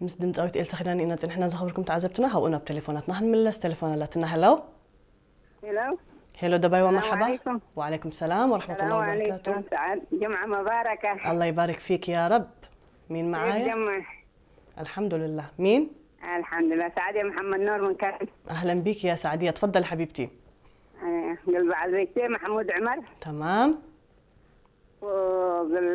ምስ ድምፃዊት ኤልሳ ኪዳነ ኢና ፅንሕና ዘኽብርኩም ተዓዘብትና። ካብኡ ናብ ቴሌፎናትና ክንምለስ። ቴሌፎን ኣላትና። ሄሎ። ሄሎ። ሄሎ ደባይዋ፣ ሰላም መርሓባ። ዓለይኩም። ወዓለይኩም ሰላም ወረሕመቱላ ሰላም ወበረካቱ። ዓለይኩም ሰዓድ ጀምዓ መባረከ። الله يبارك فيك يا رب. مين معايا؟ ጀምዓ الحمد لله. مين؟ الحمد لله. سعدية محمد نور من كرم. أهلا بك يا سعدية، تفضل حبيبتي. قلب عزيزتي محمود عمر. تمام. وقل